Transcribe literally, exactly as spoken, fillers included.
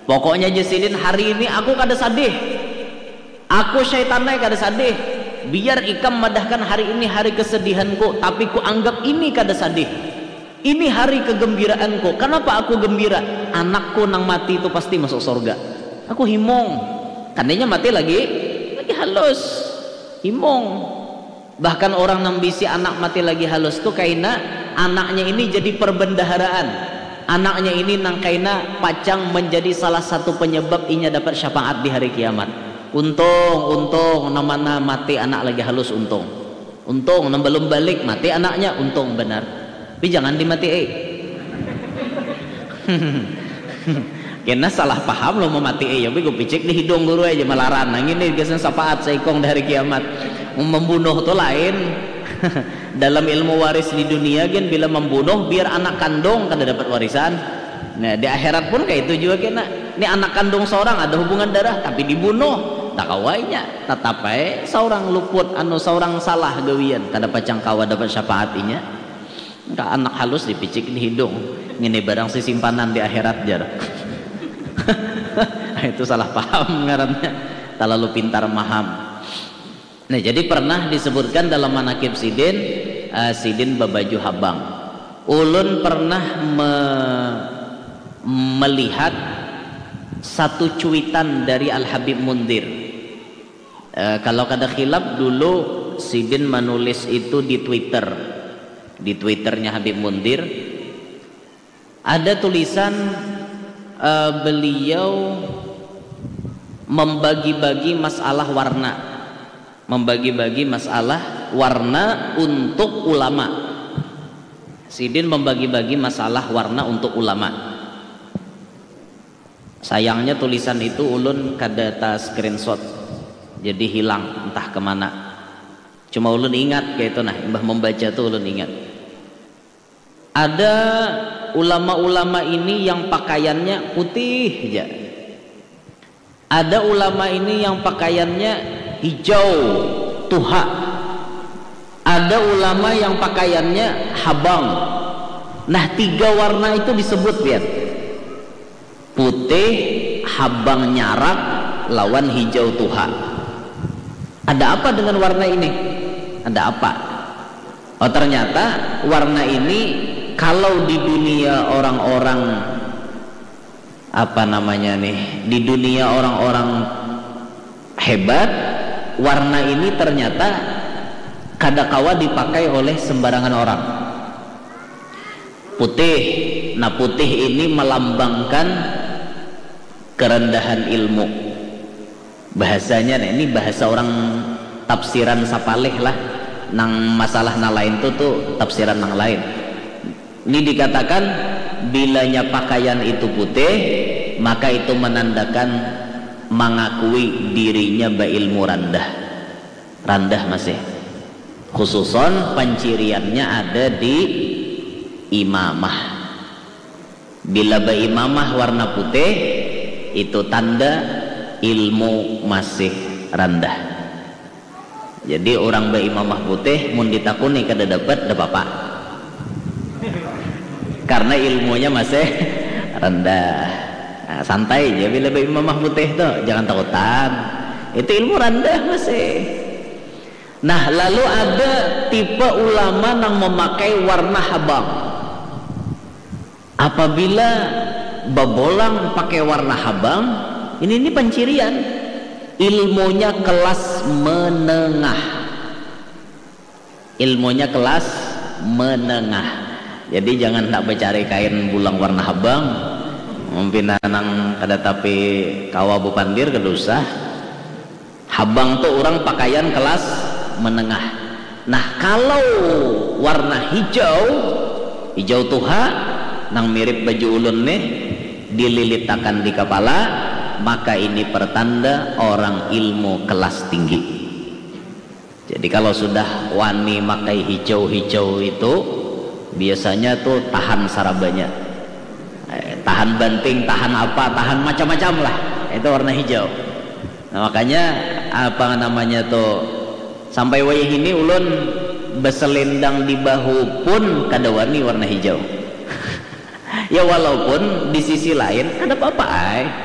Pokoknya, jar sidin, hari ini aku kada sadih. Aku syaitan ai kada sadih. Biar ikam madahkan hari ini hari kesedihanku, tapi ku anggap ini kada sadih. Ini hari kegembiraanku. Kenapa aku gembira? Anakku nang mati itu pasti masuk surga. Aku himung. Kan inya mati lagi, lagi halus. Himung. Bahkan orang nang bisi anak mati lagi halus tu kaina anaknya ini jadi perbendaharaan. Anaknya ini nang kaina pacang menjadi salah satu penyebab inya dapat syafaat di hari kiamat. Untung, untung, nang mana mati anak lagi halus, untung. Untung, nang belum balik mati anaknya, untung benar. Tapi jangan dimati, eh. Kena salah paham lo mamati, eh, ya, bego picik di hidung guru aja malaran. Nah, ini gasan syafaat saikung di hari kiamat. Membunuh tu lain. Dalam ilmu waris di dunia, gen, bila membunuh, biar anak kandung kada dapat warisan. Nah, di akhirat pun kayak itu juga, kena. Ini anak kandung seorang ada hubungan darah, tapi dibunuh. Tak kawainya. Tetap aja seorang luput, anu, seorang salah gawian. Kada pacang kawa dapat syafaat inya. Ka anak halus dipicik di hidung. Ngini barang sisimpanan di akhirat, jar. Itu salah paham ngarannya. Terlalu pintar maham. Nah, jadi pernah disebutkan dalam manakib sidin, eh, sidin babaju habang. Ulun pernah me-, melihat satu cuitan dari Al Habib Mundir. Eh, kalau kada khilaf, dulu sidin menulis itu di Twitter, di Twitternya Habib Mundir. Ada tulisan, eh, beliau membagi-bagi masalah warna, membagi-bagi masalah warna untuk ulama. Sidin membagi-bagi masalah warna untuk ulama. Sayangnya tulisan itu ulun kada ta screenshot, jadi hilang entah kemana. Cuma ulun ingat kayak itu, nah, imbah membaca tuh ulun ingat. Ada ulama-ulama ini yang pakaiannya putih aja. Ada ulama ini yang pakaiannya hijau tuha. Ada ulama yang pakaiannya habang. Nah, tiga warna itu disebut, lihat. Putih, habang nyarak, lawan hijau tuha. Ada apa dengan warna ini? Ada apa? Oh, ternyata warna ini kalau di dunia orang-orang, apa namanya nih, di dunia orang-orang hebat, warna ini ternyata kada kawa dipakai oleh sembarangan orang. Putih. Nah, putih ini melambangkan kerendahan ilmu. Bahasanya, nah, ini bahasa orang tafsiran sapalih lah. Nang masalah nang lain tu, tu tafsiran nang lain. Ini dikatakan, bilanya pakaian itu putih, maka itu menandakan mengakui dirinya berilmu randah. Randah masih. Khususon panciriannya ada di imamah. Bila beimamah warna putih, itu tanda ilmu masih randah. Jadi, orang beimamah putih, mun ditakuni kada dapat, dah apa-apa. Karena ilmunya masih rendah. Nah, santai aja bila beimamah putih tuh, jangan takutan. Itu ilmu rendah masih. Nah, lalu ada tipe ulama nang memakai warna habang. Apabila babolang pakai warna habang, ini, ini pancirian. Ilmunya kelas menengah. Ilmunya kelas menengah. Jadi, jangan tak mencari kain bulang warna habang. Mungkin nang kada tapi kawa bupandir, kada usah. Habang tu orang pakaian kelas menengah. Nah, kalau warna hijau, hijau tuha, nang mirip baju ulun nih, dililitakan di kepala, maka ini pertanda orang ilmu kelas tinggi. Jadi, kalau sudah wani makai hijau-hijau itu, biasanya tuh tahan sarabanya. Eh, tahan banting, tahan apa, tahan macam-macam lah. Itu warna hijau. Nah, makanya, apa namanya tuh, sampai wayah ini ulun beselendang di bahu pun kada wani warna hijau. Ya, walaupun di sisi lain kada apa-apa ai.